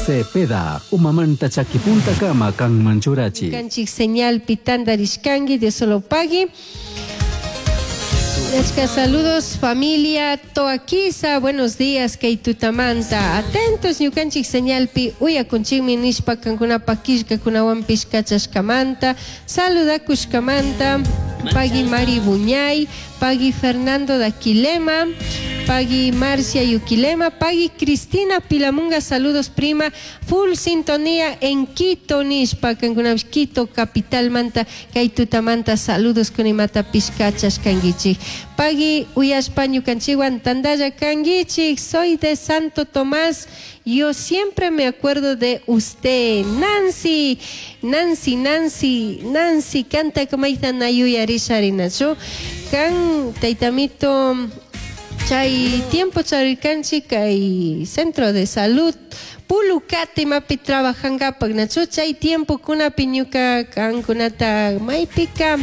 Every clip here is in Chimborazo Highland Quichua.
Cepeda, umamanta chakipuntakama kanman churachi. Kanchik señalpi tantarishkanki, Dios solo pagui. Achka saludos familia Toaquiza, buenos días kay tutamanta. Atentos ñukanchik señalpi uyakunchikmi nishpa kankunapak killkakunawanpish kachashkamanta, saludakushkamanta, pagui Mari Buñay, pagui Fernando Daquilema, pagui Marcia Yuquilema, pagui Cristina Pilamunga, saludos prima, full sintonía en Quito nishpa kankunapish Quito capital manta kay tutamanta saludos kunimata pishkachashkankichik. Pagui uyashpa ñukanchikwan tantalla kankichik, soy de Santo Tomás, yo siempre me acuerdo de usted. Nancy, Nancy, Nancy, Nancy, kanta kamayta na yuyarisharinachu. Kan taytamito chay tiempo charirkanchik kay centro de salud Pulucate imapi trabajankapak nachu chay tiempo kunapi ñuka kankunata maypika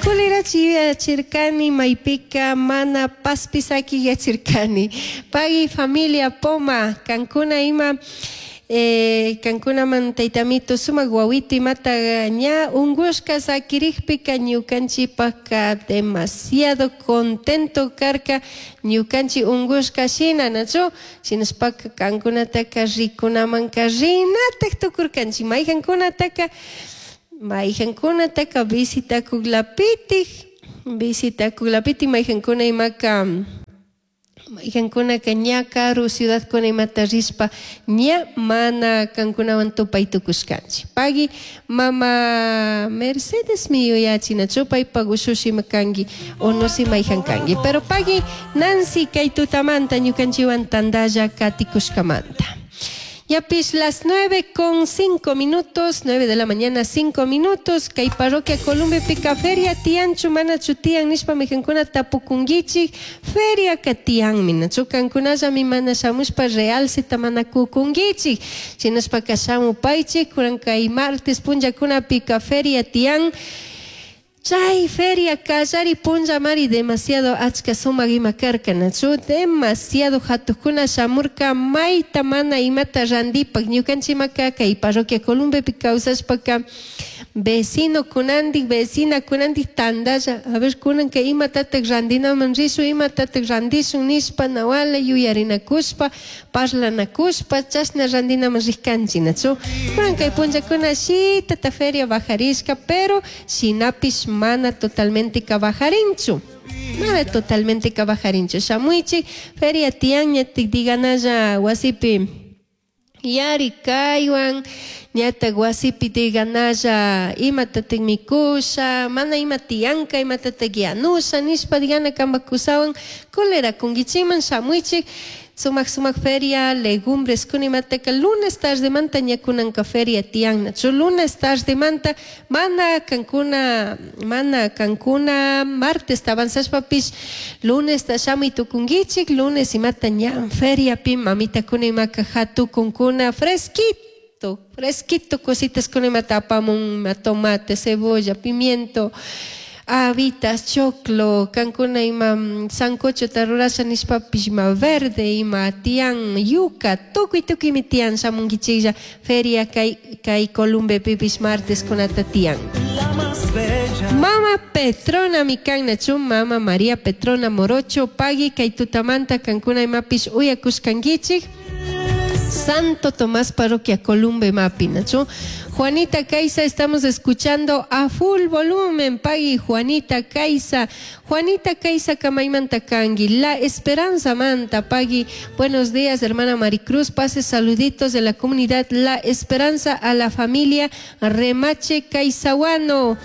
kulirachi yuyachirkani maypika mana paspisaki yachirkani. Pagui familia Poma kankuna ima kankunaman taytamito sumak wawito imata ña ungushka sakirikpika ñukanchikpaka demasiado contento karka ñukanchik ungushka shina nachu shinashpaka kankunataka rikunamanka rinatak tukurkanchik mayjankunataka mayjankunataka visitakuklapitik visitakuklapitik mayjankuna imaka mayjankunaka ña karu ciudadkuna imata rishpa ña mana kankunawan tupay tukushkanchik. Pagui mama Mercedes mi yuyachinachu paypak ushushima kanki o no si mayjan kanki. Pero pagui Nancy kay tutamanta ñukanchikwan tantalla katikushkamanta. Yapish las 9:05, 9 de la mañana 5 minutos, kay parroquia Columbepika feria tianchu manachu tian nishpa mijankuna tapukunkichik, feria ka tianmi, nachu kankunallami mana shamushpa realceta mana kukunkichik, shinashpaka shamupaychik, kunan kay martes punllakunapika feria tian. Chay feria kallari punllamari demasiado achka sumak ima karka nachu demasiado hatukuna shamurka mayta mana imata randipak ñukanchikmaka kay parroquia Columbepi kawsashpaka vecino kunandik vecina kunandik tantalla a ver kunanka imatatak randinaman rishun imatatak randishun nishpa nawala yuyarinakushpa parlanakushpa chashna randinaman rishkanchik nachu kunan kay punllakuna shitata feria bajarishka pero shinapish mana totalmente bajarinchu mana totalmente bajarinchu shamuychik feria tiyan ñatik diganalla wasipi yari kaywan ñatak wasipi diganalla imatatak mikusha mana ima tiyanka imatatak yanusha nishpa digana kanpak kusawan kulerakunkichikman shamuychik sumak sumak feria legumbres kuna imataka lunes tardemanta ña kunanka feria tiyan nachu lunes tardemanta mana kankuna mana kankuna martes avanzashpapish lunes ta shamuy tukunkichik lunes imata ña feriapi mamitakuna imaka hatukunkuna fresquito fresquito cositas kuna imata apamun ima tomate cebolla pimiento habitas, choclo, kankuna ima sancochota rurasha nishpapish ima verde, ima tiyan yuca, tukuy tukuymi tiyan shamunkichiklla feria kay kay Columbepipish martes kunata tiyan. Mama Petrona mi kan nachu mama María Petrona Morocho pagui kay tutamanta kankuna imapish uyakushkankichik Santo Tomás Parroquia Columbe mapi nachu Juanita Caiza, estamos escuchando a full volumen, pagui Juanita Caiza, Juanita Caiza Kamaymanta kangi, La Esperanza Manta, pagui, buenos días hermana Maricruz, pase saluditos de la comunidad La Esperanza a la familia Remache Caizahuano.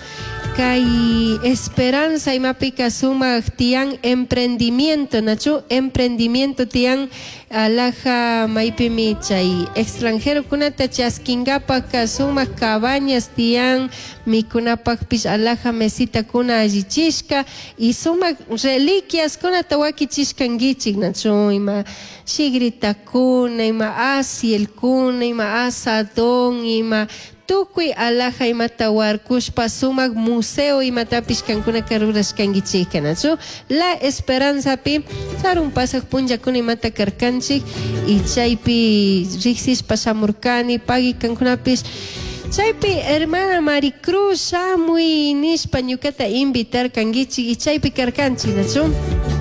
Kay Esperanza imapika sumak tiyan emprendimiento nachu emprendimiento tiyan alhaja maypimi chay extranjerokunata chaskinkapak sumak cabañas tiyan mikunapakpish alhaja mesitakuna allichishka y sumak reliquiaskunata wakichishkankichik nachu ima shigritakuna ima asielkuna ima asadón ima. Tukuy alhaja imata warkushpa sumak museo imatapish kankunaka rurashkankichikka, nachu? La Esperanzapi sarun pasaq punllakuna imata karkanchik y chaypi riksishpa shamurkani pagui kankunapish chaypi hermana Maricruz shamuy nishpa ñukata invitarkankichik y chaypi karkanchik, nachu?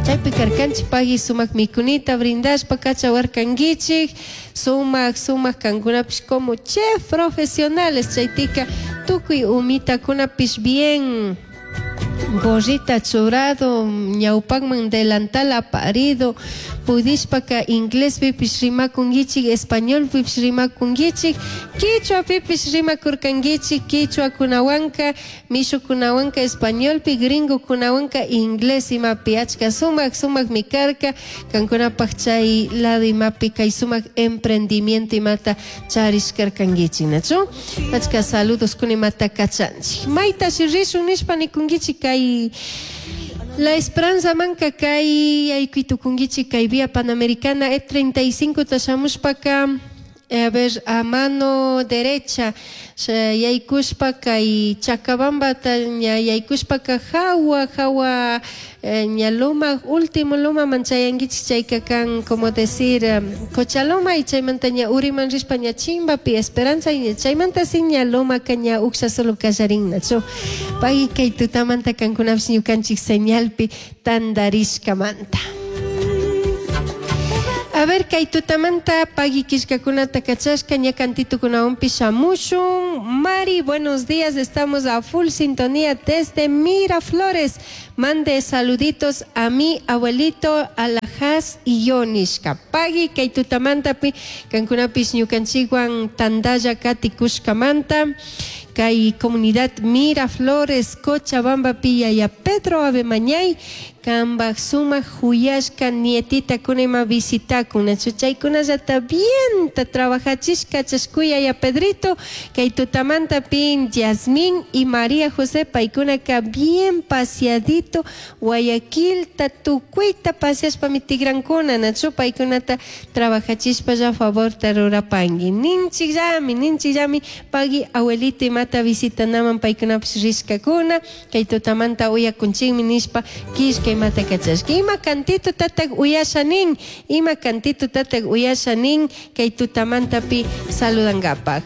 Chaypi karkanchik pagui sumak mikunita brindashpa kachawarkankichik. Sumak sumak kankunapish como chef profesionales chaytika tukuy umitakunapish bien gorrita churado ñawpakman delantal aparido pudishpaka inglespipish rimakunkichik, españolpipish rimakunkichik, quichuapipish rimakurkankichik, quichuakunawanka mishukunawanka españolpi, gringokunawanka inglés imapi achka sumak sumakmi karka kankunapak chay lado imapi kay sumak emprendimiento imata charishkarkankichik, nachu? Achka saludos kuna imata kachanchik. Maytashi rishun nishpa nikunkichik kay La Esperanza manka kay yaykuy kay vía Panamericana E35 ta shamushpaka a ver, a mano derecha yaykushpa kay Chacabambata ña yaykushpaka hawa hawa ña loma último loma man chayankichik chayka kan como decir Cochaloma y chaymanta ña uriman rishpa ña chimbapi Esperanza y ña chaymanta si ña lomaka ña uksha solo kallarinnachu. Pagui kay tutamanta kankunapish ñukanchik señalpi tandarishkamanta. A ver, kay tutamanta pagui killkakunata kachashka ña cantitukunawanpish shamushun. Mari, buenos días, estamos a full sintonía desde Miraflores. Mande saluditos a mi abuelito Alajas y yo nishka. Pagui kay tutamantapi kankunapish ñukanchikwan tandalla katikushkamanta. Kay comunidad Miraflores, Cochabamba, yaya Pedro Abemañay, kambak sumak huyashka nietita kunima visitakun, nachu chaykunallata bienta trabajachishka chashkuy yaya Pedrito, kay tutamanta pin Yasmín y María José paykunaka bien paseadito Guayaquilta tukuyta paseashpa mitigrankuna, nachu paykunata trabajachishpa ya favorta rurapanki. Ninchikllami, ninchikllami pagui abuelito imata visitanaman paykunapish rishkakuna, kay tutamanta uyakunchikmi nishpa killka imata kachashka. Ima cantito tatak uyasha nin, ima cantito tatak uyasha nin kay tutamantapi saludangapak.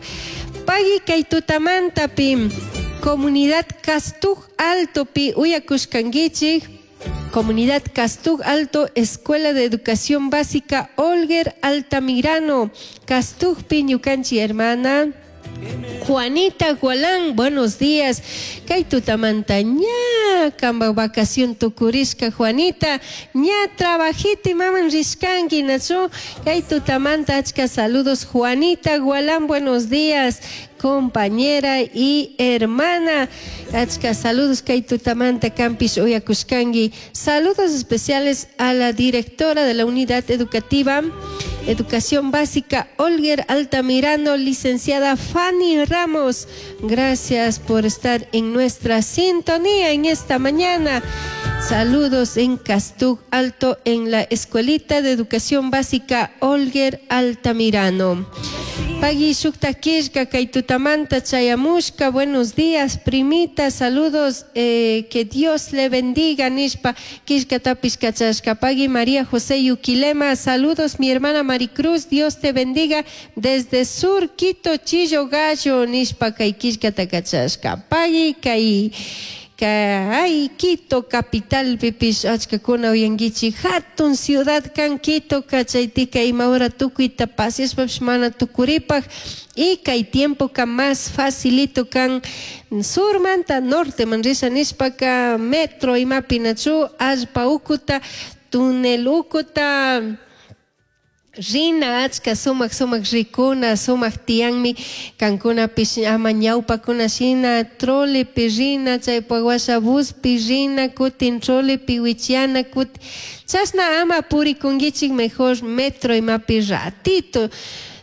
Pagui kay tutamantapi comunidad Castuj Altopi uyakushkankichik. Comunidad Castuj Alto, Escuela de Educación Básica Olger Altamirano, Castujpi ñukanchi hermana Juanita Gualán, buenos días. Kay tutamanta ña kamba vacación tukurishka Juanita, ña trabajito maman rishkanki nachu. Kay tutamanta achka saludos Juanita Gualán, buenos días, compañera y hermana. Achka saludos kay tutamanta campis uyakushkanki. Saludos especiales a la directora de la unidad educativa Educación Básica Olger Altamirano, licenciada Fanny Ramos. Gracias por estar en nuestra sintonía en esta mañana. Saludos en Castuj Alto, en la Escuelita de Educación Básica Olger Altamirano. Pagui shukta killka kay tutamanta chayamushka, buenos días, primita, saludos, que Dios le bendiga, nishpa, killkatapish kachashka. Pagui María José Yuquilema, saludos, mi hermana Maricruz, Dios te bendiga, desde Sur Quito, Chillo Gallo, nishpa, kay killkata kachashka. Pagui kay ay Quito capital pipish achkakuna uyankichik hatun ciudad kan Quito kachaytika ima hora tukuyta paseashpapish mana tukuripaj y kay tiempoka más facilito kan surmanta norteman risha nishpaka metro imapi nachu allpa ukuta tunel ukuta rina achka sumak sumak rikuna sumak tiyanmi kankunapish ama ñawpakuna shina trolepi rina chaypak washa buspi rina kutin trolepi wichiana kutin chashna ama purikunkichik mejor metro imapi ratito.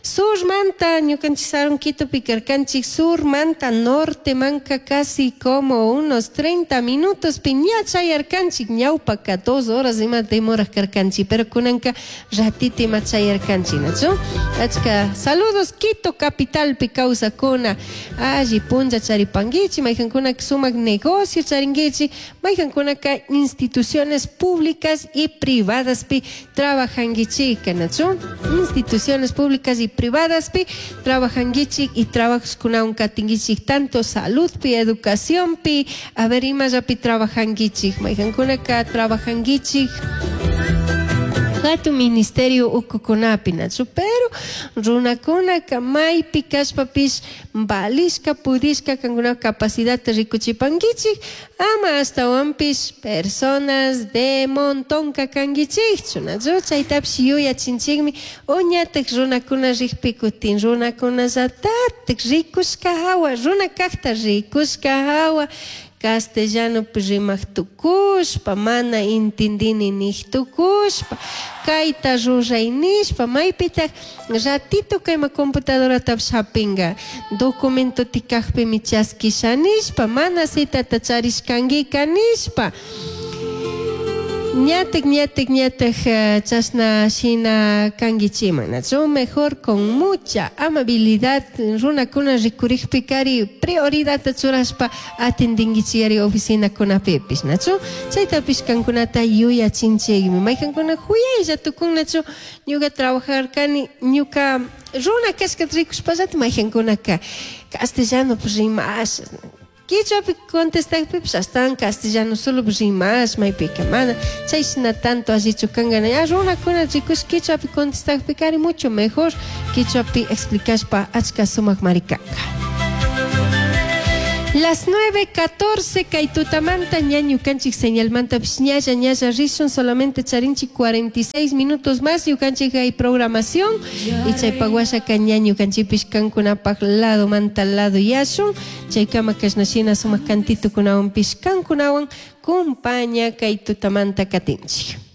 Surmanta ñukanchik sarun Quitopi karkanchik, surmanta nortemanka casi como unos 30 minutos ña chayarkanchik, ñawpaka 2 horas ima demoraj karkanchik, pero kunanka ratito ima chayarkanchik, nachu? Achka saludos Quito capitalpi kawsakuna, alli punlla charipankichik, maykankunaka sumak negocio charinkichik, maykankunaka instituciones públicas y privadaspi trabajankichik, nachu? Instituciones públicas y privadaspi trabajankichik y trabajoskunawan katinkichik, tanto saludpi, educacionpi, a ver imallapi trabajankichik, maykankunaka trabajankichik hatun ministerio ukukunapi, nachu? Pero runakunaka maypi kashpapish valishka pudishka kankuna capacidadta rikuchipankichik, ama ashtawanpish personas de montonka kankichikchu, nachu? Chaytapish yuyachinchikmi, uñatak runakuna rikpi kutin runakunallatatik rikushka hawa, runa kakta rikushka hawa, castellanopi rimaq tukushpa, mana intindini niq tukushpa, kayta ruray nishpa, maypitak ratito kayma computadoratapish hapinka, documentoti kakpimi chaskisha nishpa, mana citata charishkankika nishpa. Ñatak, ñatak, ñatak chashna shina kankichiman, nachu? Mejor con mucha amabilidad runakuna rikurikpikari prioridadta churashpa atendinkichiyari oficinakunapipish, nachu? Chaytapish kankunata yuyachinchikmi. Maykankuna huyaylla tukun, nachu? Ñuka trabajarkani, ñuka runa kashkata rikushpallata maykankunaka castellanopi rimasha, Quichuapi contestakpipish ashtawan castellano solo rimash maypika mana chayshina tanto allichu kanka. Ya runakuna rikush quichuapi contestakpikari mucho mejor quichuapi explicashpa achka sumakmari kanka. Las 9:14 kay tutamanta ña ñukanchik señalmantapish ñalla ñalla rishun, solamente charinchik 46 minutos más ñukanchik hay programación y chaypak washaka ña ñukanchikpish kankunapak lado manta lado yashun, chaykama kashna shina sumak kantitukunawanpish kankunawan kumpaña kay tutamanta katinchik.